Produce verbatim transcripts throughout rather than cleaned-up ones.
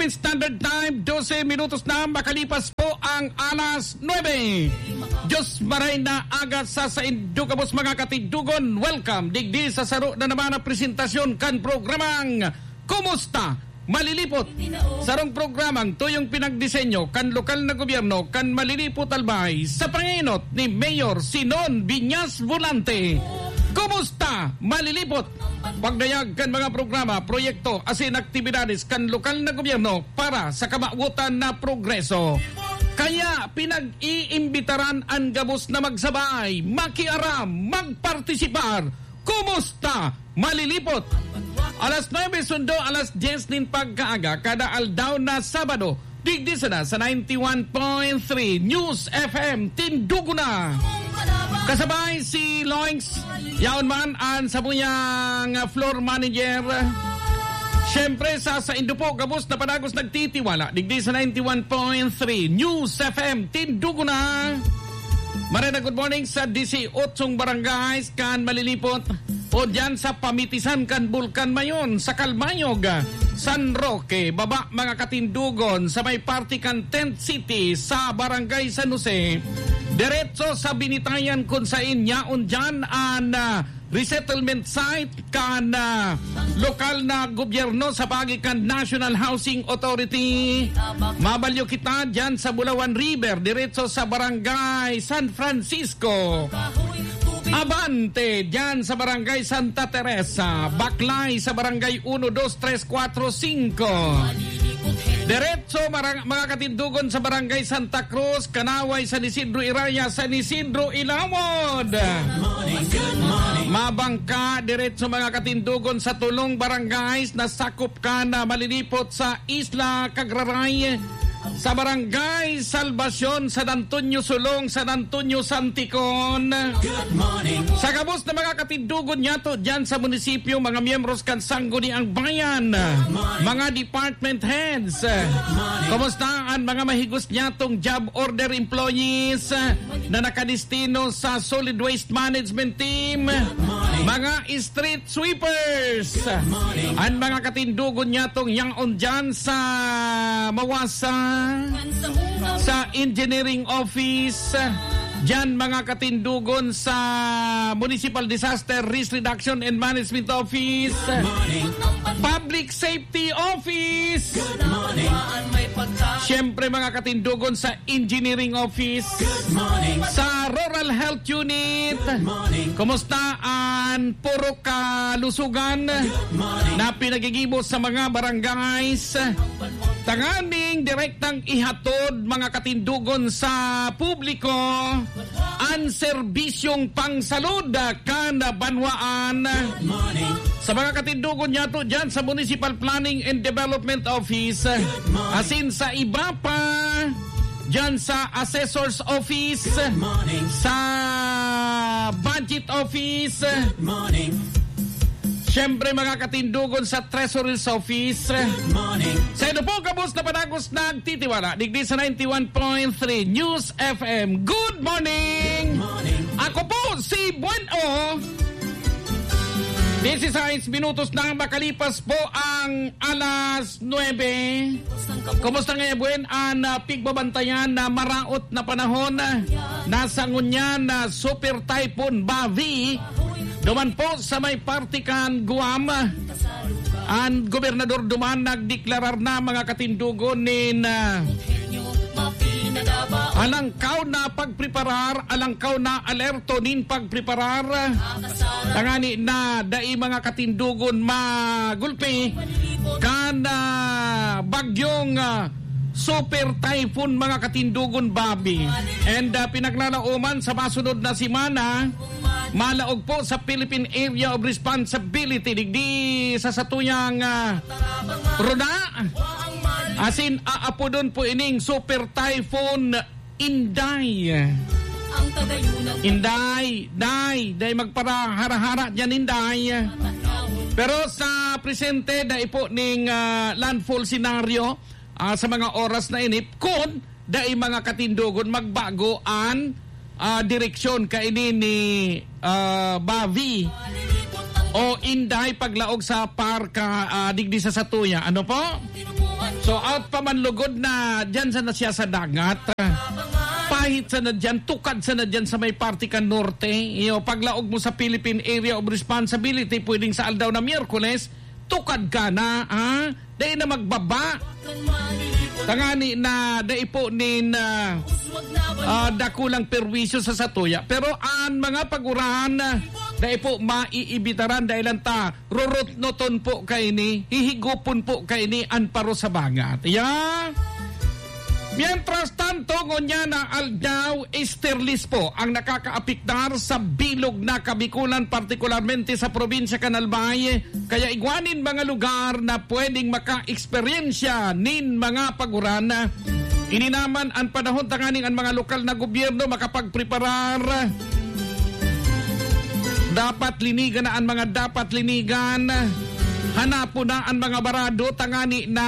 Standard Time, dose minutos na makalipas po ang alas nuebe. Diyos maray na aga sa saindo gabos, mga katindogon. Welcome digdi sa saro na naman na presentasyon kan programang Kumusta Malilipot? Sarong programang tuyong pinagdisenyo kan lokal na gobyerno kan Malilipot, Albay, sa pangenot ni Mayor Sinon Viñas Volante. Kumusta Malilipot? Pagdayag kan mga programa, proyekto asin aktibidades kan lokal na gobyerno para sa kamawotan na progreso. Kaya pinag-iimbitaran an gabos na magsabay, makiaram, magpartisipar. Kumusta Malilipot? Alas nuebe sundo alas dyes nin pagkaaga, kada aldaw na Sabado, digdi sana sa ninety-one point three News F M, Tindugo na. Kasabay si Loings, yaon man an samuyang, ah, floor manager. Siyempre, sa saindo po gabos na padagos nagtitiwala, digdi sa ninety-one point three News F M, Tindugo na. Marena, good morning sa disiyotsong barangays kan Malilipot. O diyan sa pamitisan kan Bulkan Mayon, sa Calbayog, San Roque, baba, mga katindugon, sa may parte kan Tent City, sa Barangay San Jose. Diretso sa Binitayan, kun sain yaon diyan an, ah, resettlement site kan, ah, lokal na gobyerno sa paagi kan National Housing Authority. Mabalyo kita diyan sa Bulawan River, diretso sa Barangay San Francisco. Abante, diyan sa Barangay Santa Teresa, Baklay sa Barangay uno, dos, tres, kwatro, singko. Diretso, marang-, mga katindugon, sa Barangay Santa Cruz, Kanaway, San Isidro Iraya, San Isidro Ilawod. Mabangka, diretso, mga katindugon, sa tulong barangays na sakop kan Malilipot sa Isla Cagraray, sa Barangay Salvacion, San Antonio Sulong, San Antonio Santicon. Sa gabos na mga katindugon niyato diyan sa munisipyo, mga miyembros kan Sangguniang Bayan, mga department heads. Kumusta an mga mahigos niyatong job order employees na nakadestino sa solid waste management team? Mga street sweepers. An mga katindugon niyatong yaon diyan sa Mawasa, sa engineering office, diyan mga katindugon sa Municipal Disaster Risk Reduction and Management Office, Public Safety Office. Siyempre, mga katindugon sa Engineering Office, sa Rural Health Unit. Kumusta an puro kalusugan na pinagigibo sa mga barangays? Tanganing direktang ihatod, mga katindugon, sa publiko an serbisyong pangsalud kan banwaan. Sa mga katindugon niyato diyan sa Municipal Planning and Development Office, asin sa iba pa, diyan sa Assessor's Office, sa Budget Office, siyempre, mga katindugon sa Treasury's Office. Sa inyo po, gabos na padagos nagtitiwala, digdi sa ninety-one point three News F M. Good morning! Ako po si Bueno. Dieciséis minutos na makalipas po ang alas nuebe. Kumusta ngaya, Buen, an, ah, pigbabantayan na maraot na panahon? Nasa ngunyan na Super Typhoon Bavi, duman po sa may parte kan Guam. An gobernador duman nagdeklarar na, mga katindugon, nin, ah, alangkaw na pagpreparar, alangkaw na alerto nin pagpreparar. Tangani na dai, mga katindugon, magulpi kan, ah, bagyong, ah, Super Typhoon, mga katindugon, Bavi. And, ah, pinaglalaoman sa masunod na semana, malaog po sa Philippine Area of Responsibility, digdi sa satuyang, ah, runa. Asin, aapodon po ining Super Typhoon Inday. Inday, Day, Day, magparahara-hara diyan, Inday. Pero sa presente, dai po ning, ah, landfall scenario, ah, sa mga oras na ini, kun dai, mga katindugon, magbago an, ah, direksyon kaini ni, ah, Bavi o Inday paglaog sa parka, ah, digdi sa satuya. Ano po? So, out pa man lugod na dyan sa nasya sa dagat. Pahit sana dyan, tukad sana dyan sa may parte kan norte. Iyo, paglaog mo sa Philippine Area of Responsibility, pwedeng sa aldaw na Miyerkules, tukad ka na, ha? Dai na magbaba. Tangani na dai po nin, ah, ah, dakulang perwisyo sa satuya. Pero an mga paguran, ah, dai po maiibitaran dahil lang ta rurutnoton po kaini, hihigupon po kaini an paro sa bangat. Ya! Mientras tanto, ngunyan na aldaw, esterlis po ang nakakaapektar sa bilog na Kabikulan, partikularmente sa probinsya kan Albay. Kaya igwa nin mga lugar na pwedeng maka-eksperyensya nin mga paguran. Ini naman an panahon tanganing an mga lokal na gobyerno makapagpreparar. Dapat linigan na an mga dapat linigan. Hanapon na an mga barado tangani na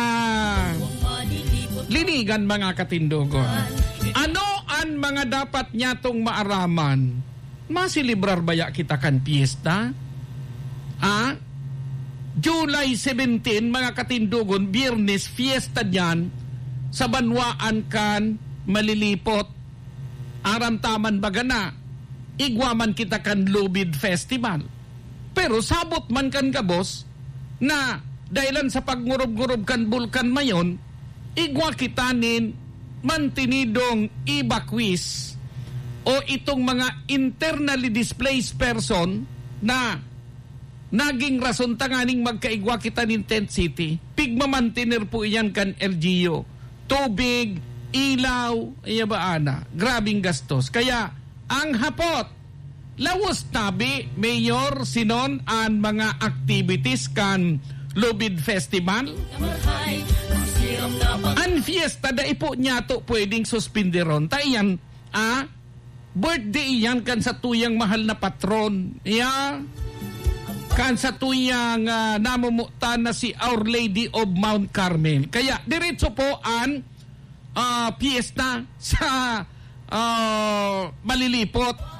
linigan, mga katindogon. Ano an mga dapat nyatong maaraman? Maselebrar baya kita kan piyesta? Ah? July seventeen, mga katindogon, Biyernes, fiesta diyan sa banwaan kan Malilipot. Aram ta man baga na, igwa man kita kan Lubid Festival. Pero sabot man kan gabos na dahilan sa pagngurub-ngurub kan Bulkan Mayon, igwa kita nin mantenidong evacuees o itong mga internally displaced person na naging rason tanganing magkaigwa kita nin tent city. Pigmamantener po iyan kan L G U. Tubig, ilaw, iya ba ana? Grabing gastos. Kaya, ang hapot, lawos tabi, Mayor Sinon, an mga activities kan Lubid Festival? An fiesta, dai po niyato pwedeng suspenderon. Ta iyan, ah, birthday iyan kan satuyang mahal na patron. Ya, kan satuyang, ah, namumutan na si Our Lady of Mount Carmel. Kaya, diretso po an, ah, piyesta sa, ah, Malilipot.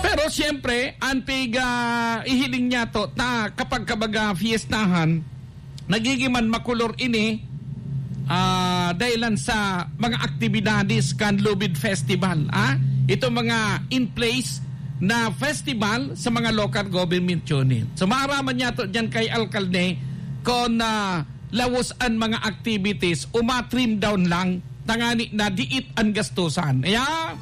Pero siyempre, an pig, ah, ihiling niyato ta kapag kabaga fiestahan, nagiging man makulor ini, ah, dahilan sa mga aktibidades kan Lubid Festival, ah. Ito mga in place na festival sa mga local government unit. So, maaraman niyato diyan kay alkalde kung, ah, lawos an mga activities, uma-trim down lang, tangani na diit an gastusan. Kaya,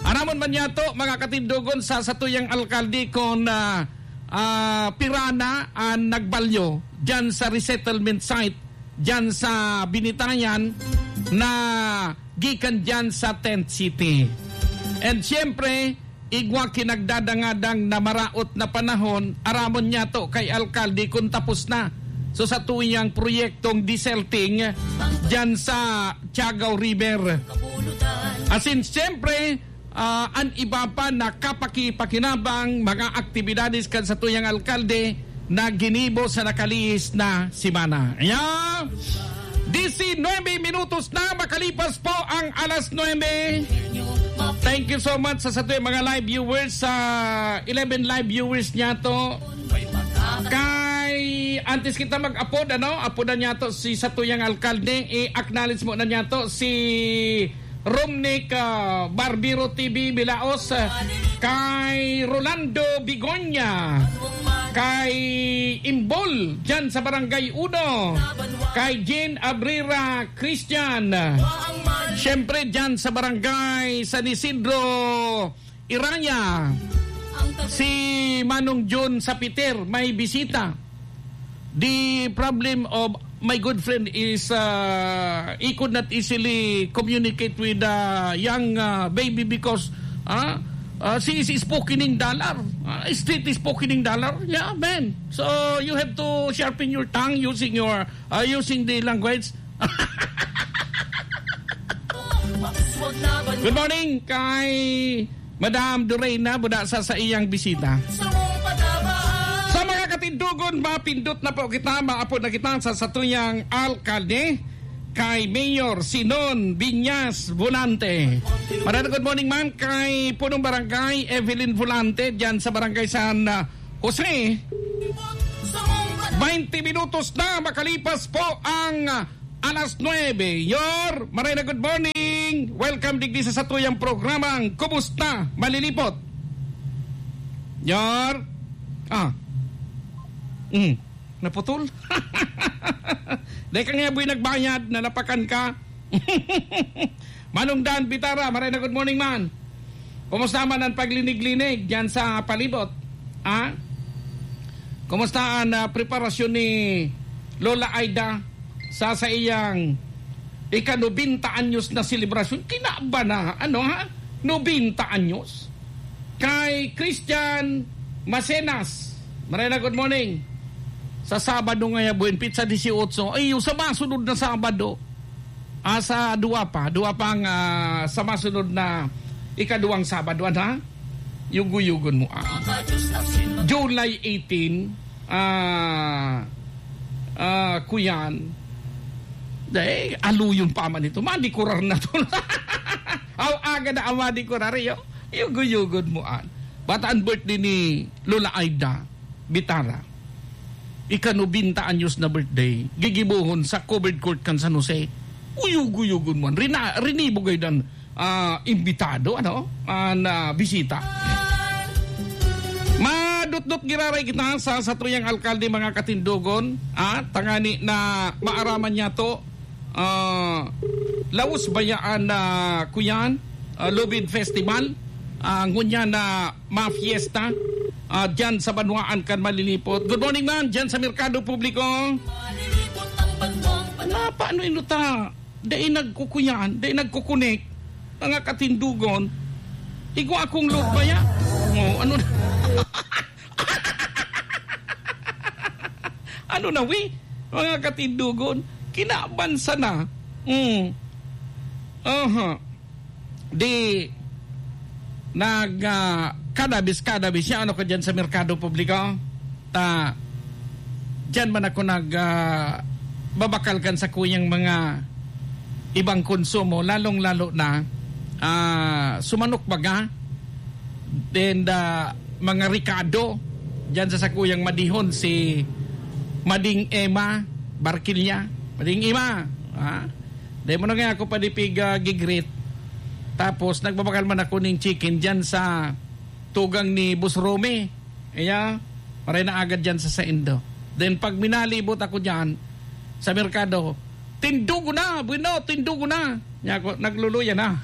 aramon man niyato, mga katindogon, sa satuyang alkalde kung, ah, ah, pira na an nagbalyo diyan sa resettlement site, diyan sa Binitayan, na gikan diyan sa tent city. And siyempre, igwa ki nagdadangadang na maraot na panahon, aramon niyato kay alkalde kun tapos na. So, satuyang proyektong desilting diyan sa Tiagaw River. Asin, siyempre, ah, an iba pa na kapakipakinabang mga aktibidades kan satuyang alkalde na ginibo sa nakalihis na semana. Ayan! Diecinuebe minutos na makalipas po ang alas nuebe. Thank you so much sa satuyang mga live viewers, sa eleven live viewers niyato. Kay, antes kita mag-apod, ano, apodan niyato si satuyang alkalde, i-acknowledge mo na niyato si Romnick, ah, Barbero T V Bilaos, ah, kay Rolando Bigonya, kay Imbol, dyan sa Barangay Uno, kay Jean Abrera Christian, siyempre dyan sa Barangay San Isidro, Iraya, si Manong John Sapiter, may bisita. The problem of my good friend is, uh, he could not easily communicate with the young, uh, baby because, uh, uh, she is spoken in dollar. Uh, street is spoken in dollar. Yeah, man. So you have to sharpen your tongue using your, uh, using the language. Good morning kay Madam Dorena, buda sa saiyang bisita. Sa mga katindogon, mapindot na po kita, maapod na kita sa satuyang alkalde, kay Mayor Sinon Binyas Volante. Madam, good morning, ma'am, kay Punong Barangay Evelyn Volante, dyan sa Barangay San, ah, Jose. Twenty minutos na makalipas po ang, ah, alas nuebe. Yor, maray na good morning. Welcome digdi sa satuyang programang Kumusta Malilipot? Yor? Ah. Mm. Naputol? Dai ka nga buhay nagbayad, nalapakan ka. Manong Dan Bitara, maray na good morning, man. Kumusta man ang paglinig-linig diyan sa palibot? Ha? Kumusta ang, ah, preparasyon ni Lola Aida sa, sa iyang ika-nobenta anyos na selebrasyon? Kinaba na, ano, ha? Nobenta anyos. Kay Christian Macenas, maray na good morning. Sa Sabado ngaya, buwan, petsa disiotso. Ay, yung sa masunod na Sabado. Ah, sa duwa pa, duwa pang, ah, sa masunod na ikaduwang Sabado, ano, ha? Yugo-yugon mo, ah. July eighteen, ah, ah, kuyan. Dai, aluyon pa man ito. Madikurar na to. Aw, aga na ang madikurar, yo. Yugo-yugon mo, ah. Bata ang birthday ni Lola Aida Bitara. Ika-nobenta anyos na birthday, gigibohon sa covered court kan San Jose. Uyog-uyogon man. Rina-, rinibog ay dan, ah, imbitado, ano? An, ah, bisita. Madutdut giraray kita sa satuyang alkalde, mga katindogon. Ah, tangani na maaraman niya to. Ah, laos bayaan na, kuyan, ah, Lubid Festival, ah, ngunyan na mafiesta, ah, dyan sa banwaan kan Malilipot. Good morning, man, dyan sa Merkado Publiko. Na, paano ino ta? Dai nagkukuyan, dai nagkukunik. Mga katindugon, igwa akong load baya? Oh, ano na? Ano na, wi? Mga katindugon, kinaban sana. Mm. Aha. Di, nag, ah, kadabis, kadabis siya, ano ka dyan sa merkado publiko? Ta, dyan man ako nag, ah, babakal kan sa kuyang mga ibang konsumo, lalong-lalo na, ah, sumanok baga, then, ah, mga rekado, dyan sa sakuyang madihon, si Mading Emma Barquilla. Mading Emma, ha? Dai mo na nga ako padipig, ah, gigrit. Tapos, nagbabakal man ako ning chicken dyan sa tugang ni Boss Romy. Kaya, maray na agad dyan sa saindo. Then, pag minalibot ako dyan, sa merkado, "Tindugo na, bueno, tindugo na." Niya ako, nagluluya na.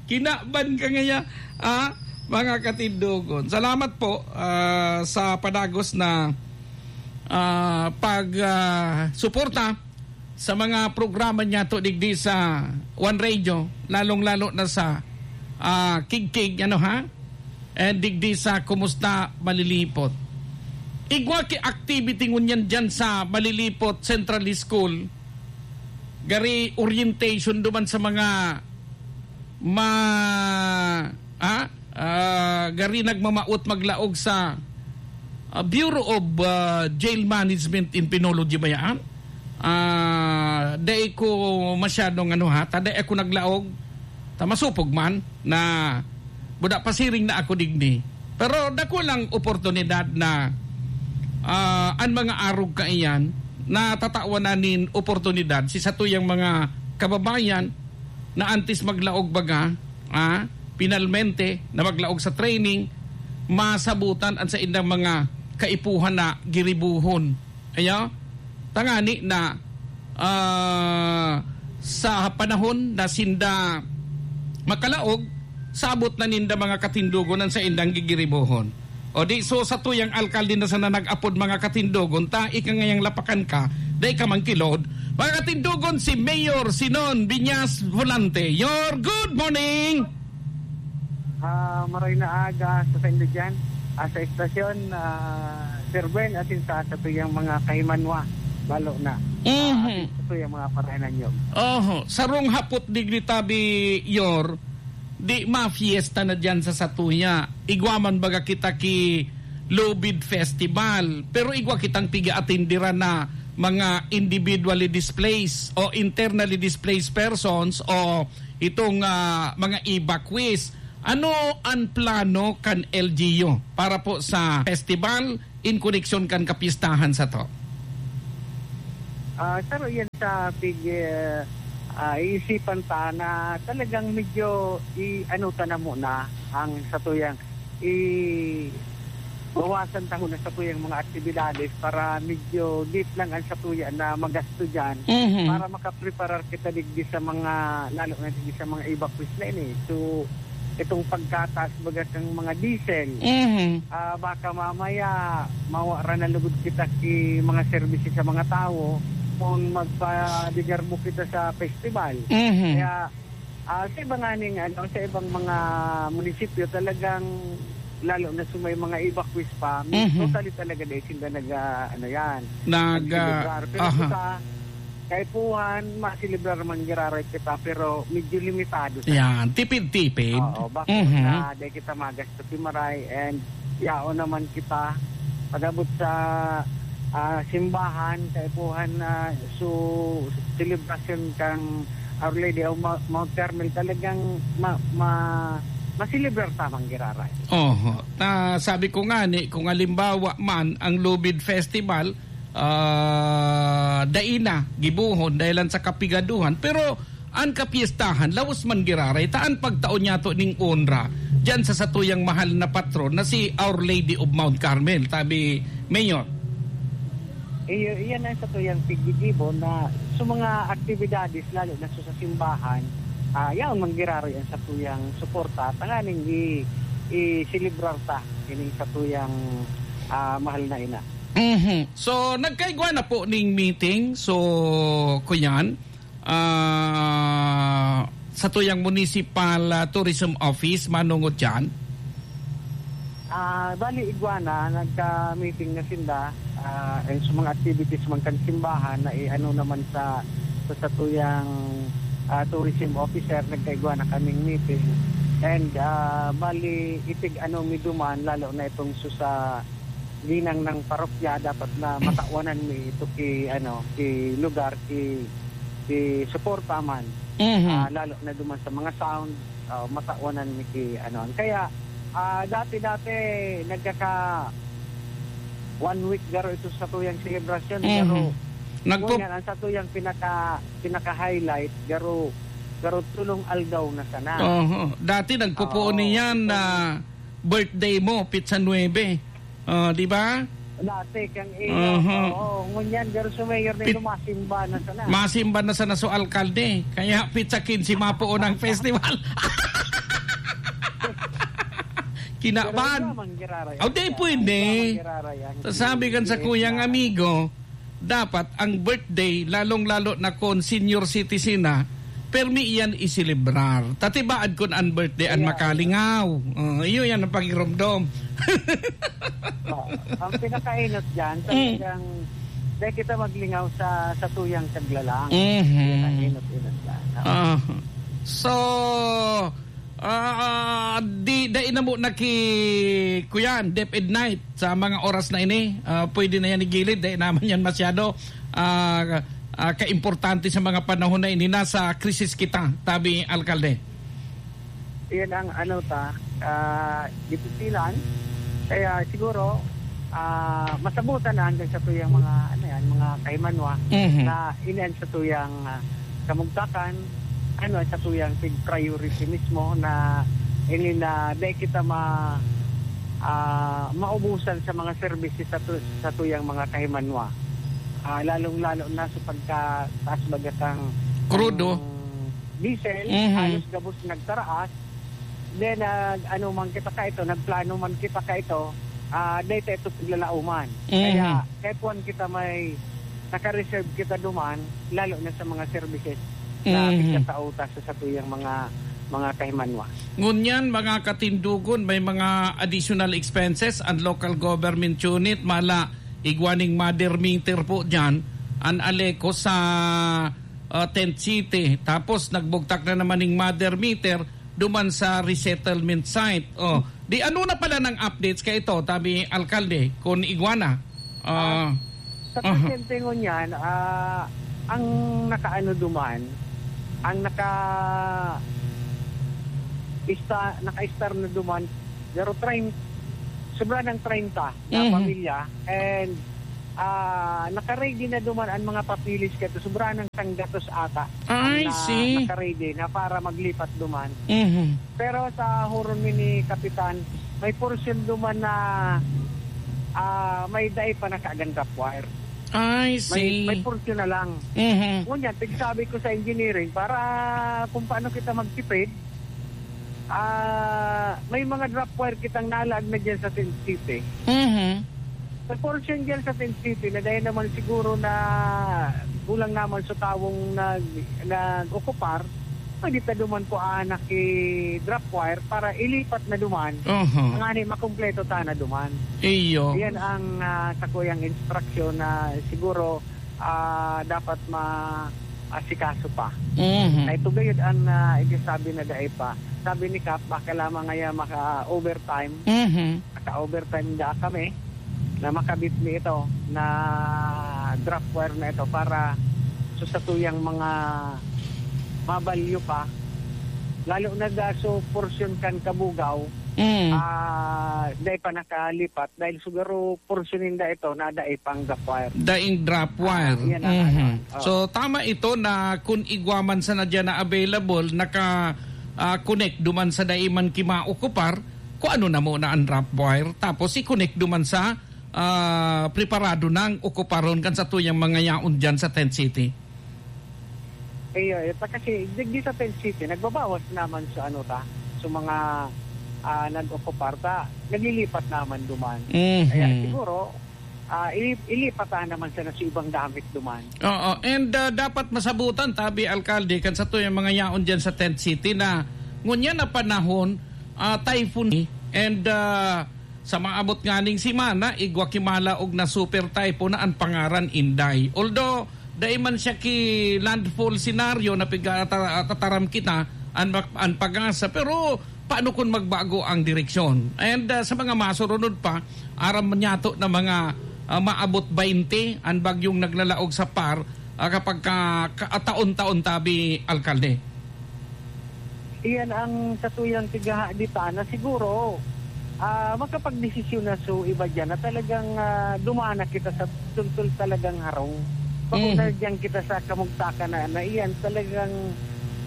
Kinaban ka ngaya, ah, mga katindogon. Salamat po, ah, sa padagos na, ah, pag, ah, suporta sa mga programa niyato digdi sa One Radio, lalong-lalo na sa, ah, Kigkig, ano ha? And digdi sa Kumusta Malilipot. Igwa ki activity ngunyan dyan sa Malilipot Central School. Gari orientation duman sa mga ma-, ah, ah, gari nagmamaot maglaog sa, ah, Bureau of, ah, Jail Management and Penology ba yan? Ah, dai ko masyadong ano ha, ta dai ako naglaog, ta masupog man na buda pasiring na ako digdi. Pero dakulang oportunidad na, ah, an mga arog kaiyan, natatawan na nin oportunidad si satuyang mga kababayan na antes maglaog baga, ah, pinalmente na maglaog sa training, masabutan an saindang mga kaipuhan na giribuhon. Ayo, tangani na, ah, sa panahon na sinda makalaog, sabot na ninda mga katindogon an saindang gigiribohon. O di, so, satuyang alkalde na sana nag-apod mga katindogon, ta ika ngayang lapakan ka, dai ka man kilod. Mga katindogon, si Mayor Sinon Viñas Volante. Your good morning! Ah, maray na aga sa saindo diyan, ah, sa estasyon, ah, Sir Ben, asin sa satuyang mga kahimanwa, balo na. Mhm. Ah, asin sa satuyang mga parahanan nyo. Oho, sarong hapot digdi tabi, Yor, di mafiesta na diyan sa satuya. Igwa man baga kita ki Lubid Festival, pero igwa kitang piga-atindiran na mga individually displaced o internally displaced persons o itong, ah, mga evacuees. Ano an plano kan L G U para po sa festival in koneksyon kan kapistahan sato? Ah, saro yan sa pig-, ah, iisipan ta na talagang medyo i-ano ta na muna ang satuyang i-, bawasan ta muna satuyang mga aktibidades para medyo deep lang ang satuya na magasto diyan Mhm. para makapreparar kita digdi sa mga, lalo na digdi sa mga evacuees na ini. So, itong pagkataas baga kang mga diesel, Mhm. ah, baka mamaya mawara na lugod kita ki mga services sa mga tawo kung magpadigarbo kita sa festival. Mhm. Kaya, ah, sa iba nganing, ano, sa ibang mga munisipyo, talagang, lalo na sa may mga evacuees pa, Mhm. totally talaga dahil sila nag, ah, ano yan, Nag, ah, nagselebrar. Pero aha. kita, kaipuhan, maselebrar man giraray kita, pero medyo limitado sa Yan, tipid-tipid. Oo, bako Mhm. na dahil kita magasto ki maray, and yaon naman kita pag-abot sa, ah, simbahan, kaipuhan na su-, selebrasyon kan Our Lady of Mount, Mount Carmel, talagang ma-, ma-, maselebrar ta man giraray. Oho. Ta, sabi ko nga ni, kung halimbawa man ang Lubid Festival, ah, dai na gibohon dahilan sa kapigaduhan, pero an kapiestahan, laos man giraray, ta an pagtao niyato ning onra diyan sa satuyang mahal na patron na si Our Lady of Mount Carmel, tabi, Mayor. Iyo, iyan ang satuyang piggigibo na sa mga aktibidades, lalo na sa, sa simbahan, ah, yaon man giraray ang satuyang suporta, tanganing i-, i-selebrar ta ining satuyang, ah, mahal na ina. Mhm. So, nagkaigwa na po ning meeting. So, kuyan, ah, satuyang municipal, ah, tourism office, manongod diyan? Ah, bali, igwa na, nagka-meeting na sinda, ah, and sa mga activities man kan simbahan na i-ano naman sa, sa satuyang, ah, tourism officer, nagkaigwa na kaming meeting. And, ah, bali, itig-ano mi duman, lalo na itong su-, sa ginang ng parokya, dapat na matakwanan mi ito ki, ano, ki lugar, ki, ki suporta man. Mhm. Ah, lalo na duman sa mga sound, ah, matakwanan mi ki, ano. Kaya, ah, dati-dati, nagkaka one week garo ito sa tuyang selebrasyon, Mhm. pero Nagpo- ngunyan, ang sa tuyang pinaka, pinaka-highlight, garo, garo tulong aldaw na sana. Oho. Dati nagpupuon Oo. niyan na birthday mo, pitsa nuebe. Oh, di ba? Dati kang iya. Aha. Oo, ngunyan, garo su mayor na Pit-, ito, masimba na sana. Masimba na sana su alkalde. Kaya pitsa kinse mapuon ang festival. Kinabahan. Pero iba man giraray. Oh, di Kaya pwede. iba man giraray ang Sasabi kan sa kuyang amigo, dapat ang birthday, lalong-lalo na kung senior citizen na, permi iyan iselebrar. Tatibaad kun an birthday an Kaya, makalingaw. Oh, iyo yan ang pagiromdom. Oh, ang pinakainot dyan, Mm. talagang dahil kita maglingaw sa, sa tuyang kaglalang. Mhm. Yan ang inot-inot dyan. Ah. So, ah, di, dai na mo naki-, kuyan, DepEd Night sa mga oras na ini. Ah, pwede na yan igilid, dai naman yan masyado, ah, ah, kaimportante sa mga panahon na ini. Nasa krisis kita, tabi, Alkalde. Yan ang ano ta, ah, dipisilan. Kaya siguro, ah, masabutan na hanggang sa tuyang mga, ano yan, mga kahimanwa Mhm. na inian sa tuyang, ah, kamugtakan, ano, sa tuyang pig priority mismo na ini na dai kita ma-, ah, maubusan sa mga services sa tu-, sa tuyang mga kahimanwa. Ah, lalong-lalo na sa pagkataas baga kang, Krudo. kang diesel, Mhm. halos gabos nagtaraas. Then, nag-ano man kita ka ito, nagplano man kita ka ito, ah, data ito paglalauman. Mhm. Kaya, kaya puwan kita may naka-reserve kita duman, lalo na sa mga services na Mhm. pagkatao ta sa satuyang mga, mga kahimanwa. Ngunyan, mga katindogon, may mga additional expenses ang local government unit, mala igwa ning mother meter po dyan, an Aleco sa, ah, Tent City. Tapos nagbugtak na naman ning mother meter duman sa resettlement site. Oh, di ano na pala ng updates ka ito, tabi alkalde, kun igwa na? Ah, Sa aha. presente ngunyan, ah, ang nakaano duman, ang naka-, ista-, naka-star na duman, pero train, sobra ng treinta na Mhm. pamilya, and, ah, naka-ready na duman ang mga papeles kato, sobra ng sanggatos ata ang I na see. naka-ready na para maglipat duman. Mhm. Pero sa huron mi ni Kapitan, may porsyon duman na, ah, may dai pa nakaagandap wire. I May, may see. porsyon na lang. Mhm. Ngunyan, tigsabi ko sa engineering, para kung paano kita magtipid, ah, may mga drop wire kitang nalaag na dyan sa Tent City. Mhm. Sa portion dyan sa Tent City, na dahil naman siguro na kulang naman sa tawong nag-, nag-okupar, pwede ta duman kuhaan na ki drop wire para ilipat na duman. Aha. Ngani makumpleto ta na duman. Iyo. Yan ang, ah, sakuyang instruction na siguro, ah, dapat ma-, asikaso pa. Mhm. Na ito gayud ang, ah, isasabi na dai pa. Sabi ni Kap, baka lamang ngaya maka-overtime. Mhm. Naka-overtime da kami na makabit mi ito na drop wire na ito para sa satuyang mga mabalyo pa. Lalo na da so portion kan Kabugaw, Mm. ah, dai pa nakalipat dahil siguro portion ninda ito na dai pang drop wire. Daing drop Ah, wire. yan ang Mhm. ano. Oh. So, tama ito na kung igwa man sana dyan na available, naka, ah, connect duman sa dai man kimaokupar, kung ano na muna ang drop wire, tapos i-connect duman sa, ah, preparado nang okuparon kan satuyang mga yaon dyan sa Tent City. Iyo, ito kasi, digdi sa Tent City, nagbabawas naman sa ano ta, sa mga, ah, nag-okupar ta, naglilipat naman duman. Mhm. Kaya siguro, ah, ili-, ilipatan naman sana sa ibang gamit duman. Oo, and, ah, dapat masabutan, tabi, Alkalde, kan satuyang mga yaon dyan sa Tent City na ngunyan na panahon, ah, typhoon, and, ah, sa maabot nganing semana, igwa ki malaog na super typhoon na an pangaran Inday. Although, dai man siya ki landfall scenario na piga-, ta-, tataram kita, an, an PAGASA, pero paano kun magbago ang direksyon? And, ah, sa mga masurunod pa, aram niyato na mga, ah, maabot baynte an bagyong naglalaog sa PAR, ah, kapag ka, ka, taon-taon tabi, Alkalde. Iyan ang satuyang pighahaditan na siguro, ah, makapagdesisyon na so iba diyan na talagang, ah, duman na kita sa tultol talagang harong. Bako Mhm. na diyan kita sa kamugtakan na, na iyan talagang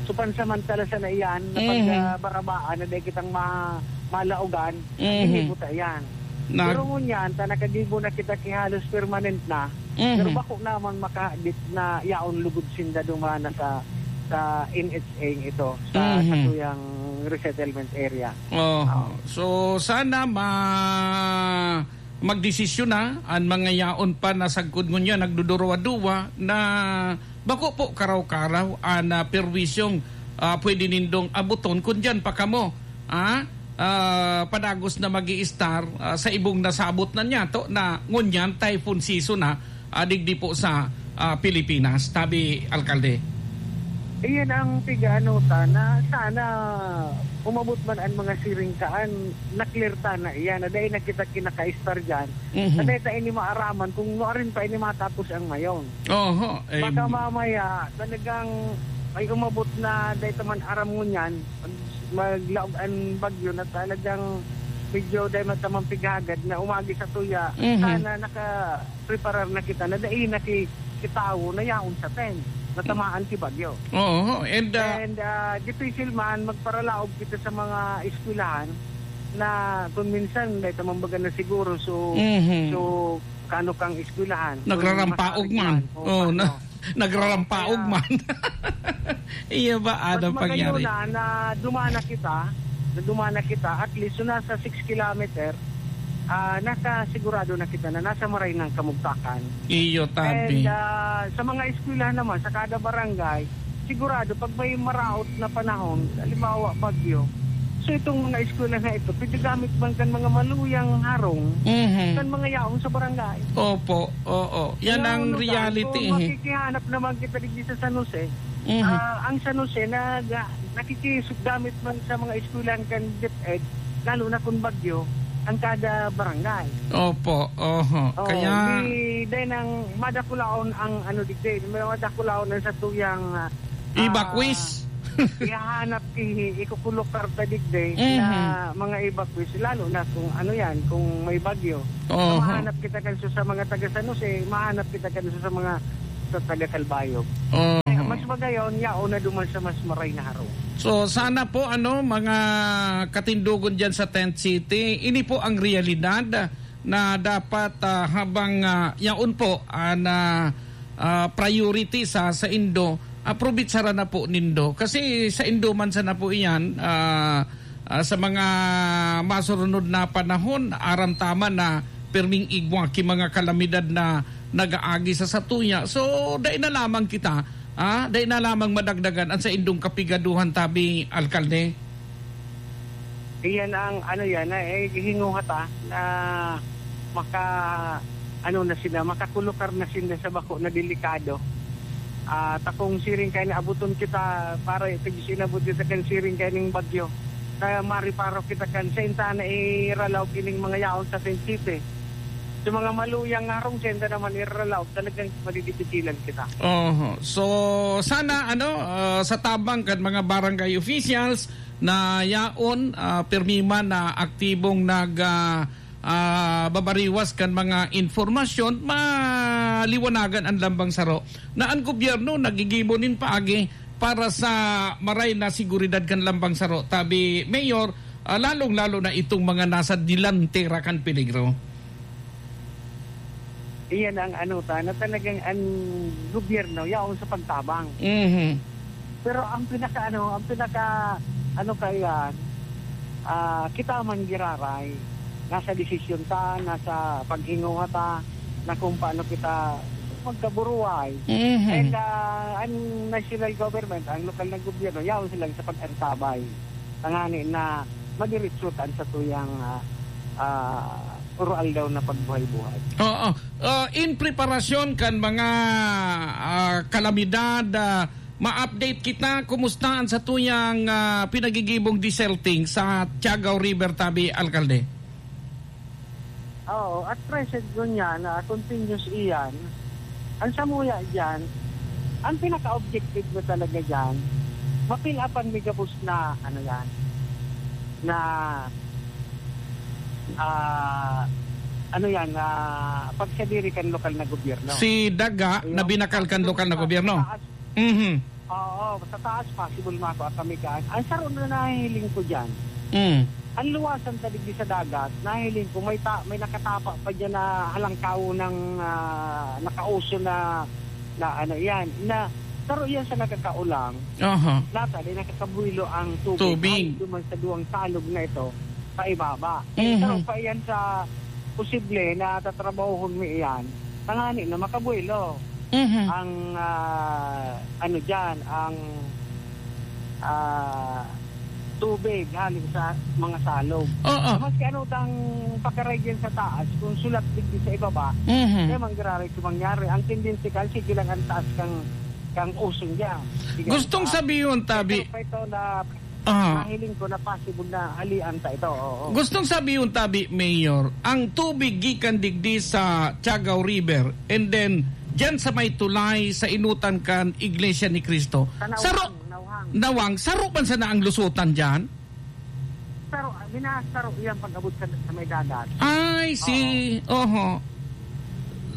supansamantala sa na iyan na pag, Mhm. ah, barabaan na dahil kitang ma-, malaogan, Mhm. hindi po ta iyan. Nag- Pero ngunyan, ta nakagibo na kita ki halos permanent na, Mhm. pero bako namang makahadit na yaon lugod sinda duman na sa, sa N H A ito, sa Mhm. satuyang resettlement area. Oho. Oo. So, sana ma-, magdesisyon na an mga yaon pa na sagkod ngunyan nagduduruwa-duwa na bako po karaw-karaw an, ah, perwisyong, ah, pwede nindong abuton kun diyan pa kamo, ah, ah, padagos na mag-i-star, ah, sa ibong nasabot na niyato na ngunyan typhoon season na, ah, digdi po sa, ah, Pilipinas, tabi, Alkalde. Iyan ang pigaano ta na sana umabot man ang mga siring kaan, na-clear ta na iyan, na dai na kita kinaka-star diyan. Mhm. Na dai ta ini maaraman kung nuarin pa ini matapos ang mayon. Oho, eh, Baka mamaya, talagang may umabot na dai ta man aram ngunyan, mag-, maglaog ang bagyo na talagang medyo dai man ta man pighagad na umagi sa tuya. Mhm. Sana naka-preparar na kita na dai na ki-, kitawo na yaon sa tent, na tamaan ki bagyo. Oo, and, ah, And, ah, difícil man magparalaog kita sa mga eskwelahan na kung minsan dai ta man baga na siguro, so, Mhm. so, kano kang eskwelahan, kung Nagrarampaog masakit man. man, o Oo, paano. na-, nagrarampaog Kaya man. Iya ba, Mas ano magayon pangyari? na, na dumana kita, na dumana kita, at least, so nasa six kilometer, ah, nakasigurado na kita na nasa maray ng kamugtakan. Iyo, tabi. And, ah, sa mga eskwelahan naman, sa kada barangay, sigurado, pag may maraot na panahon, halimbawa, bagyo, so itong mga eskwela na ito, pwede gamit man kan mga maluyang harong, Mhm. kan mga yaon sa barangay. Opo, oo. Yan Kaya ang ano ta, reality, so, eh. makikihanap naman kita digdi sa San Jose. Mhm. Ah, ang San Jose nag-, nakikigamit man sa mga eskwelahan kan DepEd, lalo na kung bagyo, ang kada barangay. Opo, oho. Oh, Kaya di, dahil nang madakulaon ang ano digdi, madakulaon ang satuyang, ah, Evacuees. Ihahanap ki-, ikukulukar ta digdi Mhm. na mga evacuees, lalo na kung ano yan, kung may bagyo. Oho. Mahanap kita kan sa mga taga San Jose, mahanap kita kan sa mga, sa taga Calbayog. Oho. Kaya mas magayon, yaon na duman sa mas maray na harong. So, sana po, ano, mga katindogon dyan sa Tent City, ini po ang realidad na dapat, ah, habang, ah, yaon po, ah, na, ah, priority sa, sa indo, aprobetsaran na po nindo. Kasi sa indo man sana po iyan, ah, ah, sa mga masurunod na panahon, aram ta man na pirming igwa ki mga kalamidad na nag-aagi sa satuya. So, dai na lamang kita, ah, dai na lamang madagdagan ang saindong kapigaduhan, tabi, Alkalde. Iyan ang, ano yan, na, eh, hinguhat, ah, na maka-, ano na sila, makakulukar na sila sa bako na delikado. Ah, takong siring kaya na abuton kita para ito yung sinabot kita kan siring kaya ning bagyo. Kaya mariparo kita kan sa inta na iralaw kining mga yaon sa Tent City. Sa mga maluyang nga harong, sa inta naman iralaw, talagang madidipitilan kita. Oho. So, sana, ano, ah, sa tabang kan mga barangay officials na yaon, ah, pirmi man na aktibong nag, ah, ah, babariwas kan mga informasyon, maliwanagan an lambang saro na an gobyerno nagigibo nin paagi para sa maray na seguridad kan lambang saro. Tabi, Mayor, ah, lalong-lalo na itong mga nasa delantera kan peligro. Iyan ang ano ta, na talagang ang gobyerno yaon sa pagtabang. Mhm. Pero ang pinaka ano, ang pinaka ano kaiyan, ah, kita man giraray, nasa desisyon ta, nasa paghinguha ta, na kung paano kita magkaburuay. Mhm. And, ah, ang national government, ang lokal na gobyerno, yaon sila sa pag-antabay. Tangani na madiritso ta sa tuyang, ah, ah, uro-aldaw na pagbuhay-buhay. Oo. Ah, in preparasyon kan mga, ah, kalamidad, ah, ma-update kita. Kumusta ang satuyang, ah, pinagigibong deserting sa Tiagao River, tabi, Alkalde? Oo, at present ngunyan, ah, continuous iyan. Ang samuya diyan, ang pinaka-objective na talaga diyan, ma-fill upan mi gabos na, ano yan, na, ah, ano yan, ah, pagsadiri kan lokal na gobyerno. Si Daga na Yung binakal kan lokal na gobyerno? Taas. Mhm. Oo, sa taas, possible makua kami kan. Ang saro na nahihiling ko diyan, Mm. ang luwasan ta digdi sa dagat, nahiling ko may ta-, may nakatapa pa diyan na halangkaw ng, ah, nakauso na, na ano yan, na saro yan sa nakakaulang. Aha. Nata, di nakakabuelo ang tubig. Tubig. Ay, duman sa duwang salog na ito, paibaba. Eh, Mhm. saro pa yan sa posible na tatrabahohon mo iyan, tangani na makabuelo. Mhm. Ang, ah, ano diyan, ang, ah, tubig hali sa mga salog. Oo. Maski ano tang pakaray diyan sa taas, kung sulat digdi sa ibaba, Mhm. kaya manggiraray sa mangyari. Ang tendency kasi, sige lang ang taas kang, kang usong diyan. Sige lang Gustong taas. sabihon, tabi. Pero pa ito na Ah. Nahiling ko na possible na halian ta ito, oo. Gustong sabihon, tabi, Mayor, ang tubig gikan digdi sa Tiagao River and then diyan sa may tulay sa inutan kan Iglesia ni Cristo. Sa Nawang, Saro, Nawang. Nawang, saro man sana ang lusutan diyan? Saro, minasaro iyan pag-abot sa, sa may dagat. Ay, si, Oo. oho.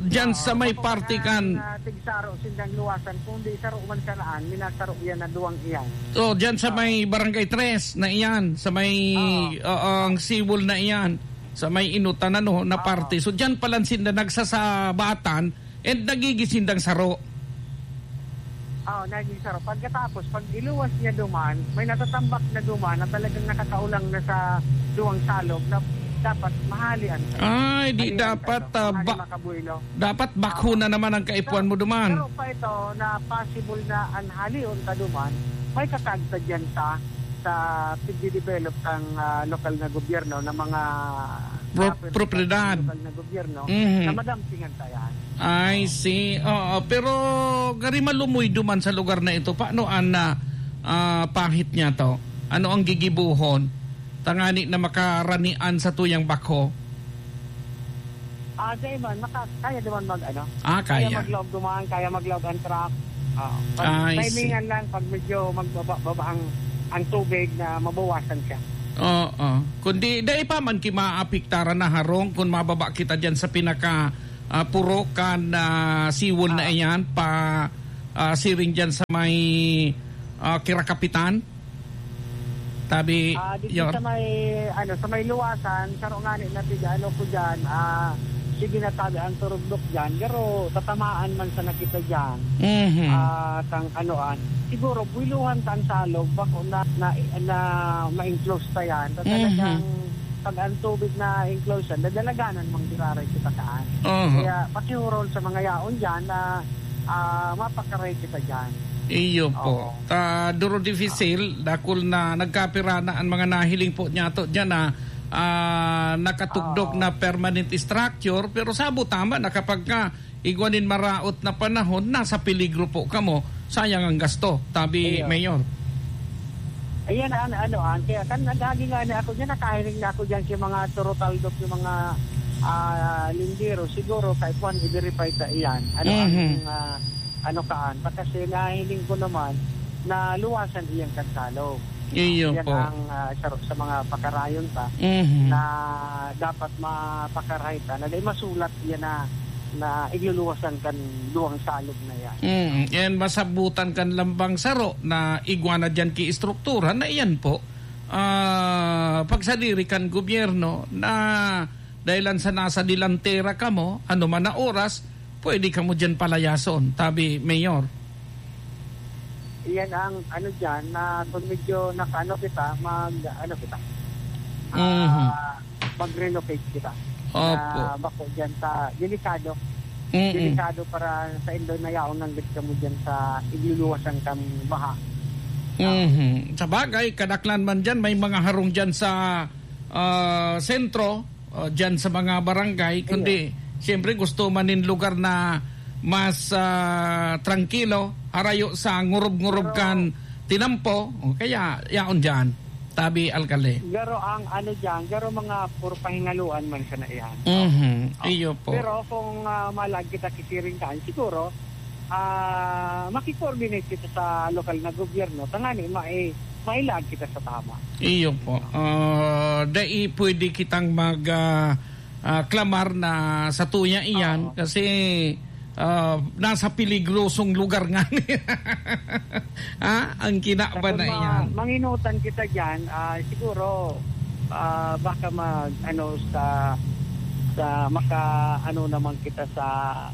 Diyan Oo, sa may mao pa party kaya kan ang, ah, tigsaro sindang luwasan, kundi saro man sa naan, minasaro iyan na duwang iyan. Oh, diyan sa Oo. may Barangay Tres na iyan, sa may, Oo. oo, ang Siwol na iyan, sa may Inutan, ano, na Oo. parte. So, diyan pala sinda nagsasabatan and nagigisindang saro. Oo, naging saro. Pagkatapos, pag iluwas niya duman, may natatambak na duman na talagang nakakaulang na sa duwang salog na dapat mahalian. Ay, di Halian dapat, ka ito. ah, Hali ba-, makabuelo. dapat bakho Oo. na naman ang kaipuan mo duman. Pero pa ito na possible na ang halion ka duman, may kakagta dyan sa, sa pagdidevelop ng, ah, lokal na gobyerno na mga Pro-, property propiedad. ng lokal na gobyerno Mhm. na madampingan ka yan. I see. Oo, pero gari malumoy duman sa lugar na ito. Paano an, ah, ah, pahit niya to? Ano ang gigibuhon? Tangani na makaranian sa tuyang bakho? Ah, dai man, maka-, kaya naman mag, ano? Ah, Kaya kaya. maglaog duman, kaya maglaog ang truck. Oo. Pag I see. Timingan lang, pag medyo magbaba-baba ang, ang tubig, na mabawasan siya. Oo. Kundi dai pa man ki maapektaran na harong kun mababa kita diyan sa pinaka, ah, purok kan, ah, seawall na Ah. iyan, pa, ah, siring diyan sa may, ah, Kirakapitan. Tabi, Ah, dito Yor. sa may, ano, sa may luwasan, saro ngani na tiga, ano ko diyan, ah, sige na tabi ang turugdok diyan, pero tatamaan man sana kita diyan. Mhm. Ah, kang anuan. Siguro, buwiluhan ta ang salog, bako na, na, na ma-enclose ta yan. Ta Mhm. talagang pag ang tubig na enclose yan, dadalaganan mang diraray kita kaan. Mhm. Kaya, pakihurol sa mga yaon diyan na, ah, mapakaray kita diyan. Iyo po. Oo. Ta, duro difisil, dakul na nagkapira na an mga nahiling po niyato diyan na, ah, nakatugdok Oo. na permanent structure, pero sabo tama na kapag ka igwa nin maraot na panahon, nasa peligro po kamo. Sayang ang gasto, tabi, Iyo. Mayor. Ayan, an-, ano, an, kaya kan nagagi nga na ako diyan, nakahiling na ako diyan sa mga turutaldok, yung mga, ah, lindero. Siguro, kay Juan, i-verify ta iyan. Ano ang, Mhm. ah, ano kaan? Kasi nahiling ko naman na luwasan iyang kansalo. Iyo Yan po. ang, ah, sa, sa mga pakarayon ta Mhm. na dapat mapakaray ta, na dahil masulat yan na, na igluluwasan kan duwang salog na yan. Mm, yan masabutan kan lambang saro na igwa na diyan ki estruktura na iyan po. Ah, pagsadiri kan gobyerno na dahilan sa nasa delantera kamo, ano man na oras, pwede kamo diyan palayason, tabi, Mayor. Iyan ang ano diyan, na kung medyo nakaano kita, mag, ano kita, Mhm. ah, mag-relocate kita. Opo. Na bako diyan sa delikado. Mm-mm. Delikado para sa indo na yaon ng gid kamo diyan sa igluluwasan kang baha. Mhm. Sa bagay, kadaklan man diyan, may mga harong diyan sa, ah, sentro, ah, diyan sa mga barangay, Ayun. kundi siyempre gusto man nin lugar na mas, ah, trangkilo, harayo sa ngurob-ngurob Pero kan tinampo, o kaya yaon diyan, tabi, alkalde. Garo ang ano diyan, garo mga puro pahingaluan man siya na iyan. Mhm, Ah, iyo po. Pero kung, ah, malag kita kisiring kaan, siguro, ah, maki-coordinate kita sa lokal na gobyerno, tangani mai-, mailag kita sa tama. Iyo po. Ah, dai pwede kitang mag, ah, ah, klamar na satuya iyan Oo. kasi, ah, nasa peligrosong lugar nga ni-, ha? Ang kinaban Tapos na ma-, iyan. manginutan kita diyan, ah, siguro, ah, baka mag, ano, sa, sa maka, ano naman kita sa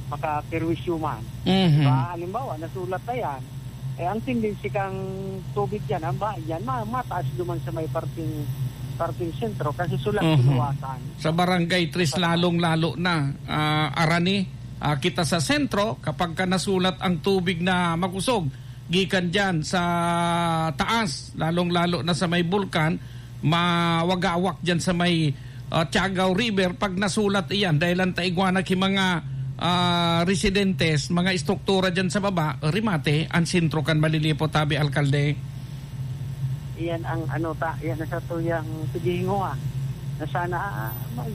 makaperwisyo man. Mhm. Diba? Halimbawa, nasulat na yan. Eh, ang tendency kang tubig diyan, ang baha diyan, ma-, mataas duman sa may parting, parting sentro kasi sulat Mhm. sa luwasan. Sa Barangay Tres Sa lalong-lalo na, ah, Arani, ah, kita sa sentro, kapag ka nasulat ang tubig na makusog, gikan diyan sa taas, lalong-lalo na sa may bulkan, mawagawak diyan sa may, ah, Tiagaw River, pag nasulat iyan, dahil ang taigwanak yung mga, ah, residentes, mga estruktura diyan sa baba, rimate, ang sentro kan malilipot, tabi, alkalde. Iyan ang ano ta, iyan ang satuyang paghihinguha. Na sana, ah, mag,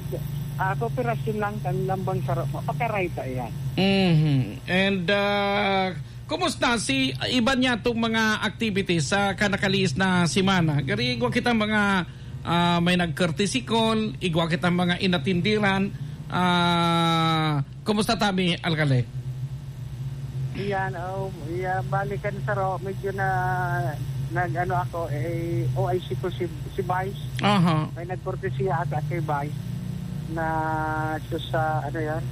ah, kooperasyon lang kan lambang saro, mapakaray ta iyan. Mhm. And, ah, kumusta si iba niya tong mga activities sa kanakalihis na semana? Gari, igwa kita mga, ah, may nag-courtesy call, igwa kita mga inatindiran. Ah, kumusta tabi, alkalde? Iyan, oh, iya, balikan saro, medyo na, nag-ano ako, eh, O I C ko si, si Vice. Aha. May nagkortesiya ata kay Vice na sa, sa, ano yan?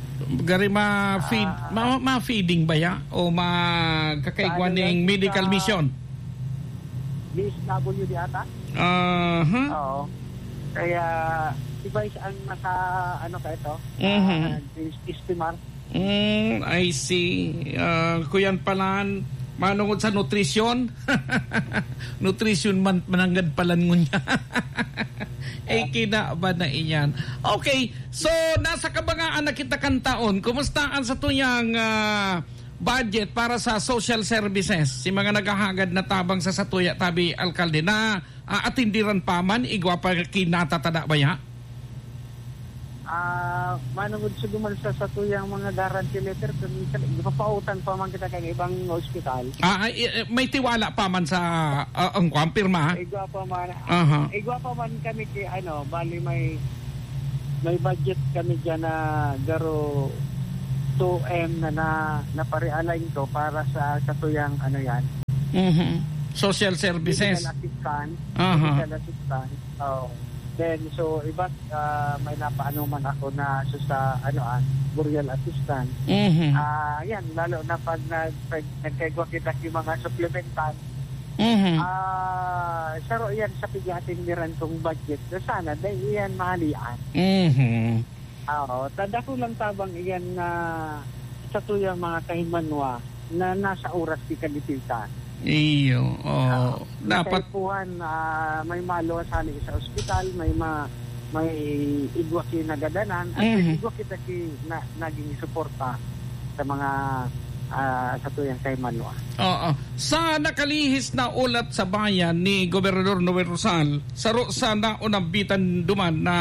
Gari ma-feed, Ah. ma-, ma-feeding ba ya? O magkakaigwa Sa ano ning yan? medical Sa mission? D S W D ata? Aha. Oo. Kaya, si Vice ang naka, ano ka ito? Mhm. Ah, is-, estimar. Mm, I see. Ah, kuyan palan, manungod sa nutrisyon. Nutrisyon man, mananggad palan ngunya. Ay, kinaban na iyan. Okay, so, nasa kabangaan na kita kan taon. Kumusta ang satuyang, ah, budget para sa social services? Si mga naghahagad na tabang sa satuya, tabi, alkalde, na, ah, atindiran pa man, igwa pa kinatatada ba ya? Ah, manungod sa duman sa satuyang mga guarantee letter, kung minsan, ipapautang pa man kita kan ibang ospital. Ah, ay, eh, eh, may tiwala pa man sa, ah, ang kwan, pirma? Igwa pa man. Aha. Igwa pa man kami ki, ano, bali may, may budget kami diyan na garo two M na, na, na pare-align ko para sa satuyang, ano yan, Mhm. Social services. Medical assistance. Aha. Medical assistance. Oo. Then, so, iba, ah, may napaano man ako na so sa, ano, ah, burial assistance. Mhm. Ah, yan, lalo na pag nag-, pag nagkaigwa kita yung mga supplemental. Mhm. Ah, saro yan sa pigatindiran kong budget. Na sana, dahil yan mahalian. Mhm. Oo, ta-, dakulang tabang iyan na satuyang mga kahimanwa na nasa oras ki kadisita. Iyo, oo. Ah, dapat kaipuhan, ah, may maluwas hali sa ospital, may ma-, may igwa ki nagadanan, at may Mhm. igwa kita ki na, naging suporta sa mga, ah, satuyang kahimanwa. Oo. Sa nakalihis na ulat sa bayan ni Gobernador Noel Rosal, saro sa naunambitan duman na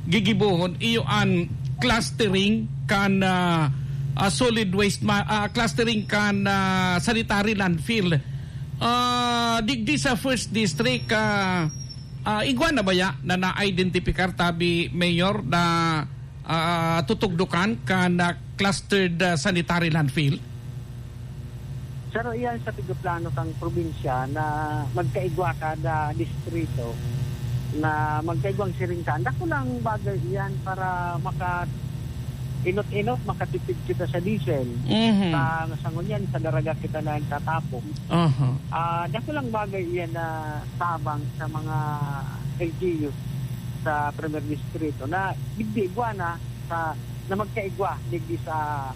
gigibohon, iyo an clustering kan, ah, ah, solid waste ma-, ah, clustering kan, ah, sanitary landfill. Ah, digdi sa first district, ah, ah, igwa na baya na na-identifikar, tabi, Mayor, na, ah, tutugdokan kan, ah, clustered, ah, sanitary landfill? Saro iyan sa pigaplano kang probinsya na magkaigwa kada distrito, na magkaigwang siringkaan. Dakulang bagay iyan para maka-inot-inot, makatipid kita sa diesel. Mhm. Sa, sa ngunyan, sa Daraga kita na nagtatapon. Aha. Ah, dakulang bagay iyan na tabang sa mga L G U sa Primer Distrito na digdi igwa na sa, na magkaigwa digdi sa,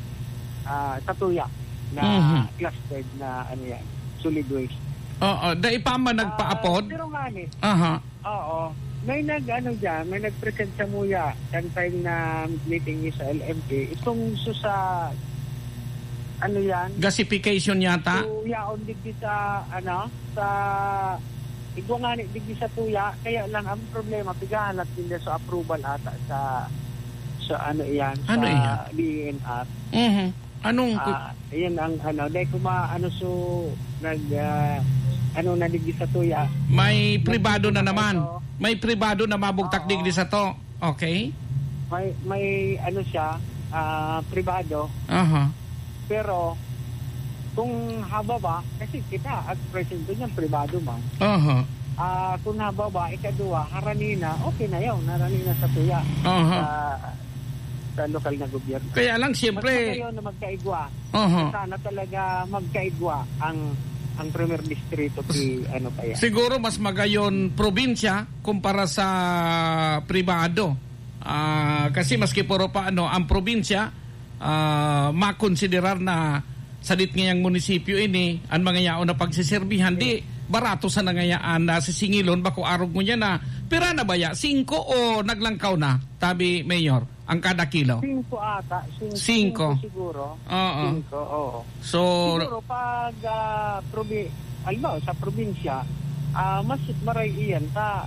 ah, satuya na Mhm. clustered na, ano yan, solid waste. Oo, dai pa man Ah, nagpaapod? Pero nga ni, Aha. Oo. May nag-ano diyan, may nag-present samuya kan time na meeting niya sa L M P. Itong so sa, ano yan? Gasification yata? So, yaon digdi sa, ano, sa igwa ngani digdi sa tuya. Kaya lang ang problema, pigahalat nila sa approval ata sa, sa ano yan, Ano sa iyan? D E N R. Mhm. Anong ku- Ah, iyan ang ano, dai ko ma-, ano, so, nag, ah, ano na digdi sa tuya. May pribado na Nandito na naman. kayo. May pribado na mabugtak Oo. digdi sa to. Okay. May, may ano siya, ah, pribado. Aha. Pero, kung hababa, kasi kita, at present ko niyan, pribado man. Aha. Ah, kung hababa, ikaduwa, harani na, okay na yun, harani na sa tuya. Aha. Sa, sa lokal na gobyerno. Kaya lang, siyempre Mas magayon na magkaigwa. Aha. Sana talaga magkaigwa ang, ang Primer Distrito, si, ano pa yan. Siguro mas magayon probinsya kumpara sa pribado. Ah, kasi maski puro pa ano, ang probinsya, ah, makonsiderar na sadit ngayang munisipyo ini, ang mga yaon na pagsiserbihan, di barato sa nangayaan na sisingilon, bako arog mo niya na, pira na baya? Singko o naglangkaw na, tabi, Mayor, ang kada kilo? Singko ata, sing-, Singko. singko siguro. Oo. Singko, oo. So, Siguro pag, ah, probi-, halimbawa, sa probinsya, ah, mas maray iyan sa,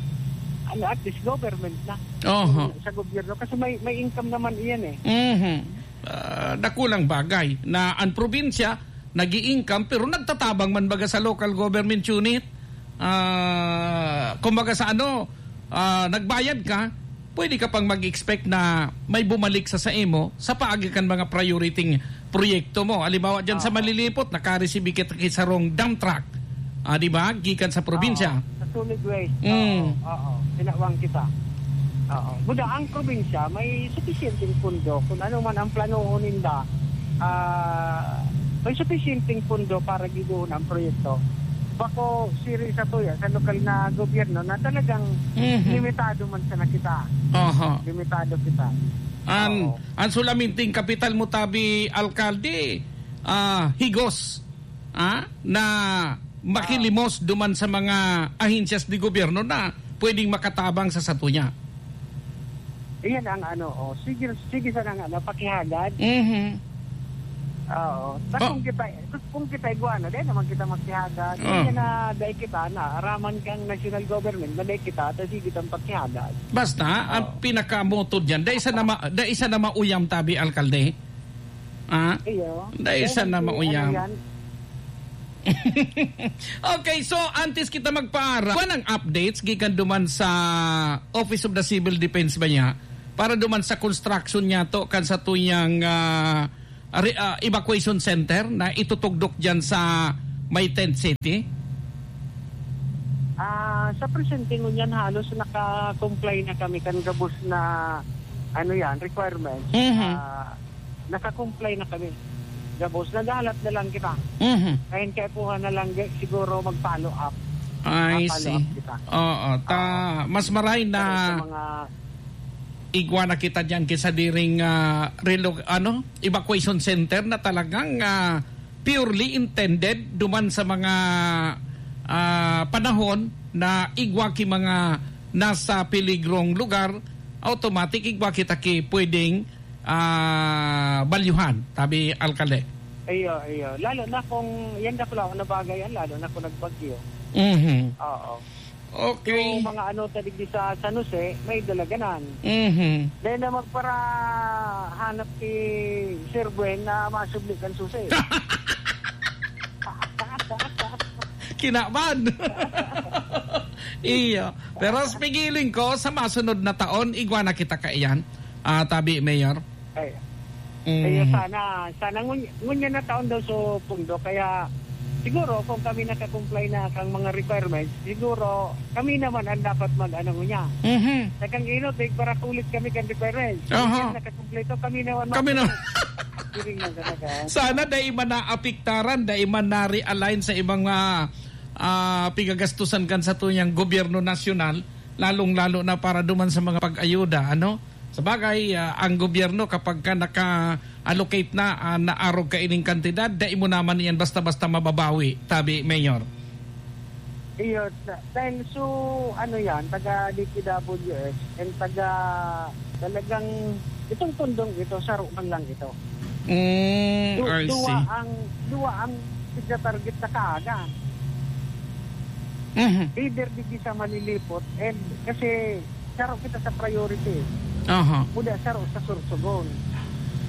ano, at least government na. Oho. Sa gobyerno. Kasi may, may income naman iyan eh. Mhm. Ah, dakulang bagay na ang probinsya nag-i-income pero nagtatabang man baga sa local government unit. Ah, kumbaga sa ano, ah, nagbayad ka, pwede ka pang mag-expect na may bumalik sa saimo sa paagi kan mga priority proyekto mo. Halimbawa, dyan sa Oo. Malilipot, nakareceive kita ki sarong dump truck. Ah, di ba? Gikan sa probinsya. Oo, sa solid waste. Mm. Oo, oo. Tinawang kita. Oo. Buda, ang probinsya, may sufisyenteng pundo. Kung ano man ang planoon ninda, ah, may sufisyenteng pundo para gibohon ang proyekto. Bako, siri sa tuya, sa lokal na gobyerno na talagang Mhm. limitado man sana kita. Aha. Limitado kita. An, Oo. an sulaminting kapital mo, tabi, alkalde, ah, higos, ah, na makilimos duman sa mga ahensyas de gobyerno na pwedeng makatabang sa satuya. Iyan ang ano, oh, sige, sige sana nga, napakihagad. Mhm. Oo. Ta Oh. kung kita, kung kita igwa na, dai naman kita magsihagad. Oh. Kaya na, dai kita na, araman kang national government, na dai kita, ta sige tang pagsihagad. Basta, ang Oh. pinakamoto diyan, dai sa nama, dai sa na mauyam tabi, alkalde. Ah? Iyo. Dai Dai sa na nagsi-, mauyam. ano yan? Okay, so, antes kita magpaara, kuwan ang updates gikan duman sa Office of the Civil Defense ba niya? Para duman sa construction niya to, kan sa tuyang, ah, re-, ah, evacuation center na itutugdok diyan sa may tent city? Ah, sa presente ngunyan, halos naka-comply na kami kan gabos na, ano yan, requirements. Mhm. Ah, naka-comply na kami. Gabos, naghahalat na lang kita. Mhm. Kaya kaipuhan na lang, ga-, siguro mag-follow up. I Ma-follow see. up kita. Oo, ta-, Ah, mas maray na pero sa mga igwa na kita diyan kaysa diring, ah, relo-, ano, evacuation center na talagang, ah, purely intended duman sa mga, ah, panahon na igwa ki mga nasa peligrong lugar, automatic igwa kita ki pwedeng, ah, balyuhan, tabi, alkalde. Iyo, iyo. Lalo na kung, yan dakulaon na bagay yan, lalo na kung nagbagyo. Mhm. Oo. Okay. Yung mga ano, ta digdi sa San Jose, may dalaganan. Mhm. Dahil na magparahanap si Sir Gwen na masubli kan susi. Kinaban. Iyo. Pero sa pigiling ko, sa masunod na taon, igwa na kita kaiyan. Ah, tabi, Mayor. Ay. Mhm. Kaya sana, sana ngun-, ngunyan na taon daw so pundo. Kaya siguro kung kami nakakomply na kang mga requirements, siguro kami naman ang dapat mag-ano ngunyan. Mhm. Sa kang ino, tig para kulit kami kang requirements. Aha. Ngunyan nakakompleto, kami naman Kami mag- na. Siring lang talaga. Sana dai man naapektaran, dai man na-realign sa ibang, ah, ah, pigagastusan kan sa tuyang gobyerno nasyonal, lalong-lalo na para duman sa mga pag-ayuda, ano? Sabagay, ah, ang gobyerno kapag ka naka-allocate na, ah, naarog ka ining kantidad, dai mo naman iyan basta-basta mababawi, tabi, Mayor. Iyo, da-, dahil so, ano yan, taga D P W S and taga, talagang, itong pundong ito, saro man lang ito. Mm, Du-, I duwa see. ang, duwa ang tigna-target sa kaaga. Mhm. Either digdi sa Malilipot, and kasi saro kita sa priority. Aha. Kuda saro sa Sorsogon.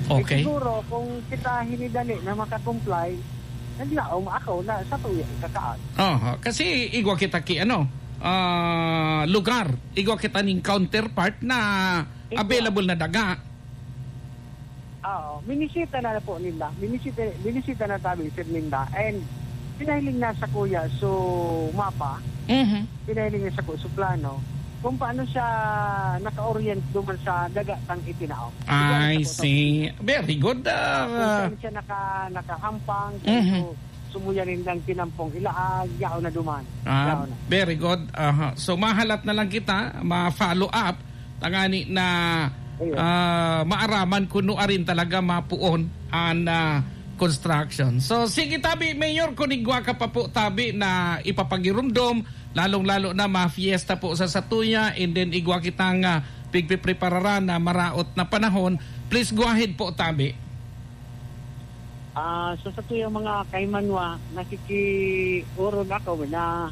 Okay. Eh, siguro, kung kita hinidali na makakomply, naglaom ako na sa tuya ikakaag. Aha. Kasi igwa kita ki, ano, ah, lugar. Igwa kita ning counterpart na Igwa. available na daga. Oo, minisita na po nila. Minisita, minisita na tabi, Sir Linda. And pinahiling na sa kuya, so mapa, Mhm. pinahiling na sa ku-, so plano, kung paano siya naka-orient duman sa daga tang itinao. I Diyan sa see. Very good, ah. Kung saan siya naka-, nakahampang, Mhm. so, sumuya nindang tinampong ilaag, yaon na duman. Ah, Yaon na. very good. Aha. So, mahalat na lang kita, ma-follow up, tangani na, Ayun. ah, maaraman kuno arin talaga mapuon an, ah, construction. So, sige, tabi, Mayor, kung igwa ka pa po, tabi, na ipapagirumdom, lalong-lalo na ma-fiesta po sa satuya, and then igwa kitang, ah, pigpiprepararan na maraot na panahon, please go ahead po, tabi. Ah, so sa tuyang mga kaimanwa, nakikiurog ako na